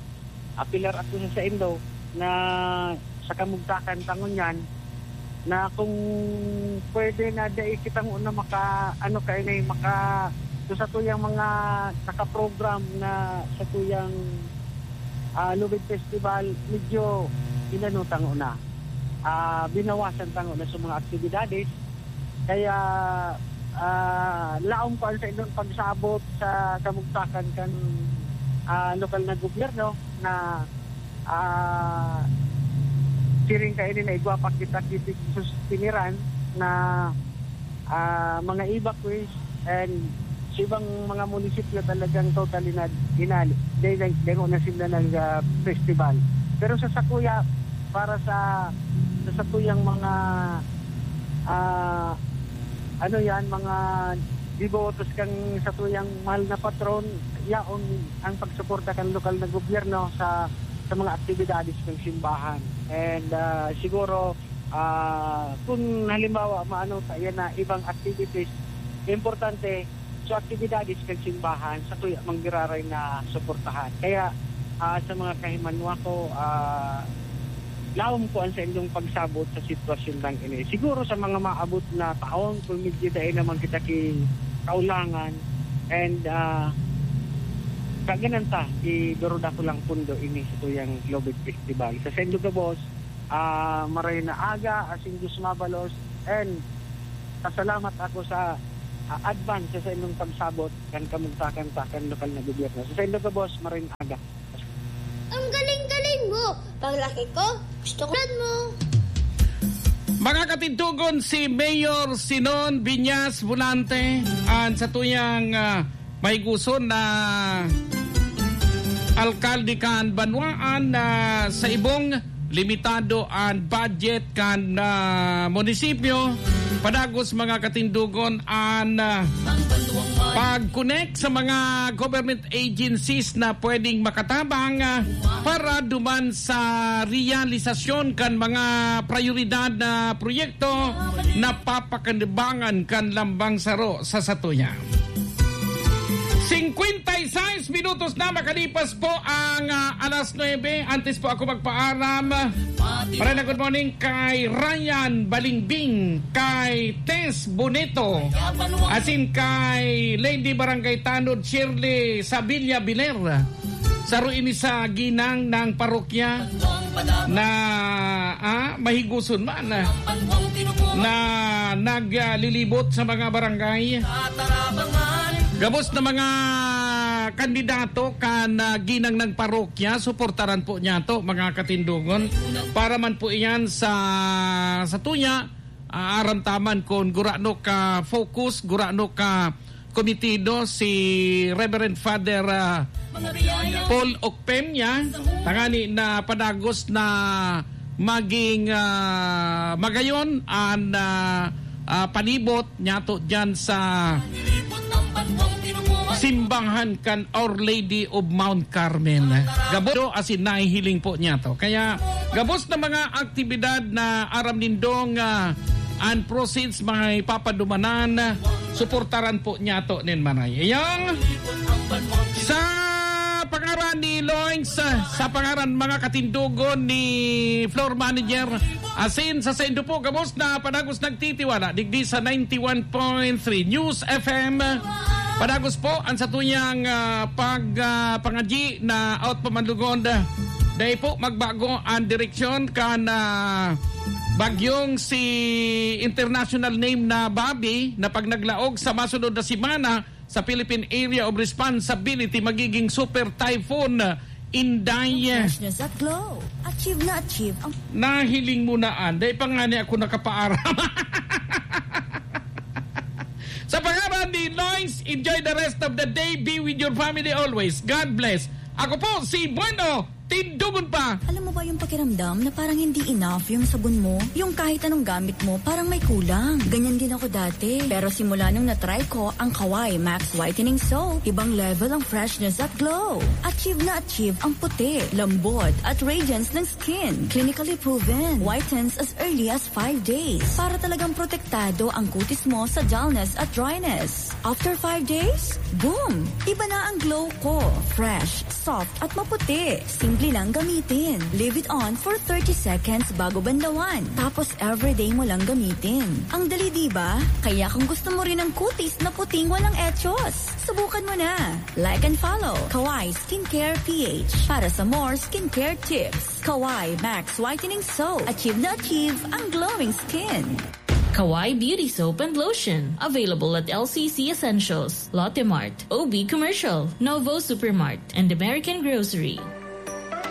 apelar ako sa saindo na sa kamugtakan ta ngunyan na kung pwede na dai kita nguna maka, ano, kainay, maka, so sa tuyang mga nakaprogram na sa tuyang, ah, Lubid Festival, medyo inano ta nguna, ah, binawasan ta nguna sa mga aktibidades. Kaya, ah, laom ko an saindong pagsabot sa kamugtakan kan, ah, lokal na gobyerno na, ah, siring kaini na igwa pa kita ki tig-sustiniran na, ah, mga evacuees and sa ibang mga munisipyo talagang totally na inali. Dahil lang, dahil na sila nag, ah, festival. Pero sa sakuya, para sa, sa sakuyang mga, ah, ano yan, mga debotos kang satuyang mahal na patron, yaon ang pagsuporta kan lokal na gobyerno sa, sa mga aktibidades ng simbahan. And, ah, siguro, ah, kung halimbawa, maano ta, yan na ibang activities, importante, So, aktibidades kan simbahan, satuya man giraray na suportahan. Kaya, ah, sa mga kahimanwa ko, ah, lawom ko an saindong pagsabot sa sitwasyon lang ini. Siguro sa mga maabot na taon, kung medyo dai naman kita ki kaulangan, and, ah, kaganan ta, idurod ako lang pundo ini sa tuyang Lobet Festival. Sa saindo gabos, ah, maray na aga, asin Diyos mabalos, and pasalamat ako sa, ah, advance sa saindong pagsabot kan kamugtakan ta kan lokal na gobyerno. Sa saindo gabos, maray na aga. Ang galing-galing mo! Paglaki ko, gusto ko mo! Mga katindogon, si Mayor Sinon Viñas Volante, an satuyang, ah, mahigoson na alkalde kan banwaan na sa ibong limitado an budget kan, ah, munisipyo. Padagos, mga katindogon, an, ah, pag-connect sa mga government agencies na pwedeng makatabang, ah, para duman sa realisasyon kan mga prayoridad na proyekto na papakinabangan kan lambang saro sa satuya. Singkwenta y seis minutos na makalipas po ang, ah, alas nuebe. Antes po ako magpaaram, maray na good morning kay Ryan Balingbing, kay Tess Bonito, asin kay Lady Barangay Tanod Shirley Sabilla Biler. Saro ini sa ginang ng parokya na, ah, mahigoson man, ah, na naglilibot sa mga barangay. Gabos na mga kandidato kan, ah, ginang ng parokya, suportaran po niyato, mga katindogon. Para man po iyan sa, sa tuya, ah, aram ta man kun gurano ka focus, gurano ka komitido si Reverend Father, ah, Paul Ocpemia, tangani na padagos na maging, ah, magayon an, ah, ah, panibot niyato diyan sa simbahan kan Our Lady of Mount Carmel. Gabos asin nahihiling po niyato. Kaya gabos na mga aktibidad na aram nindong, ah, an proceeds may papadumanan, suportaran po niyato nin maray. Iyang sa pangaran ni Loins, sa pangaran mga katindogon ni floor manager, asin sa saindo po, gabos na padagos nagtitiwala digdi sa ninety-one point three News F M. Padagos po ang satuyang, ah, pag, ah, pangadyi na out pa man lugod. Dai po magbago ang direksyon kan, ah, bagyong si international name na Bobby na pag naglaog sa masunod na semana, sa Philippine Area of Responsibility, magiging Super Typhoon Inday. Freshness at glow. Achieve na achieve ang Nahiling mo na, Anday, pa nga ni ako nakapaaram. Sa pangaran ni Lois, enjoy the rest of the day. Be with your family always. God bless. Ako po si Bueno. Tindugon pa! Alam mo ba yung pakiramdam na parang hindi enough yung sabon mo? Yung kahit anong gamit mo, parang may kulang. Ganyan din ako dati. Pero simula nung na-try ko ang Kawai Max Whitening Soap, ibang level ang freshness at glow. Achieve na achieve ang puti, lambot, at radiance ng skin. Clinically proven. Whitens as early as five days. Para talagang protektado ang kutis mo sa dullness at dryness. After five days, boom! Iba na ang glow ko. Fresh, soft, at maputi. Simple lang gamitin. Leave it on for thirty seconds bago banlawan. Tapos everyday mo lang gamitin. Ang dali, di ba? Kaya kung gusto mo rin ng kutis na puting walang echos, subukan mo na. Like and follow Kawai Skincare P H para sa more skincare tips. Kawai Max Whitening Soap. Achieve na achieve ang glowing skin. Kawai Beauty Soap and Lotion. Available at L C C Essentials, Lotte Mart, O B Commercial, Novo Supermart, and American Grocery.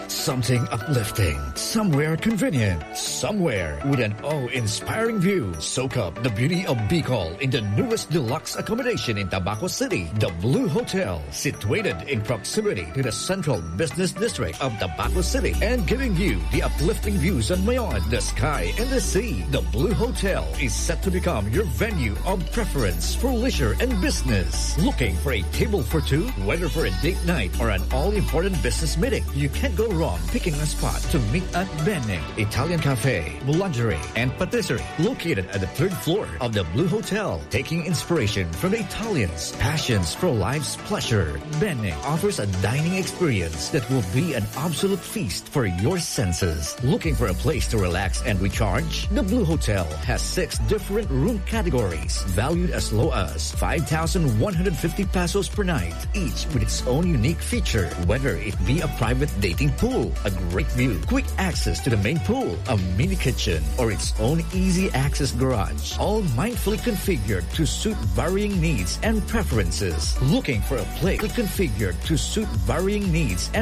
Something uplifting, somewhere convenient, somewhere with an awe-inspiring view. Soak up the beauty of Bicol in the newest deluxe accommodation in Tabaco City, the Blue Hotel, situated in proximity to the central business district of Tabaco City and giving you the uplifting views on Mayon, the sky, and the sea. The Blue Hotel is set to become your venue of preference for leisure and business. Looking for a table for two? Whether for a date night or an all-important business meeting, you can't go wrong on picking a spot to meet at Bene Italian Cafe, Boulangerie, and Patisserie, located at the third floor of the Blue Hotel. Taking inspiration from the Italians' passions for life's pleasure, Bene offers a dining experience that will be an absolute feast for your senses. Looking for a place to relax and recharge? The Blue Hotel has six different room categories, valued as low as five thousand one hundred fifty pesos per night, each with its own unique feature, whether it be a private dating pool, a great view, quick access to the main pool, a mini kitchen, or its own easy access garage. All mindfully configured to suit varying needs and preferences. Looking for a place configured to suit varying needs and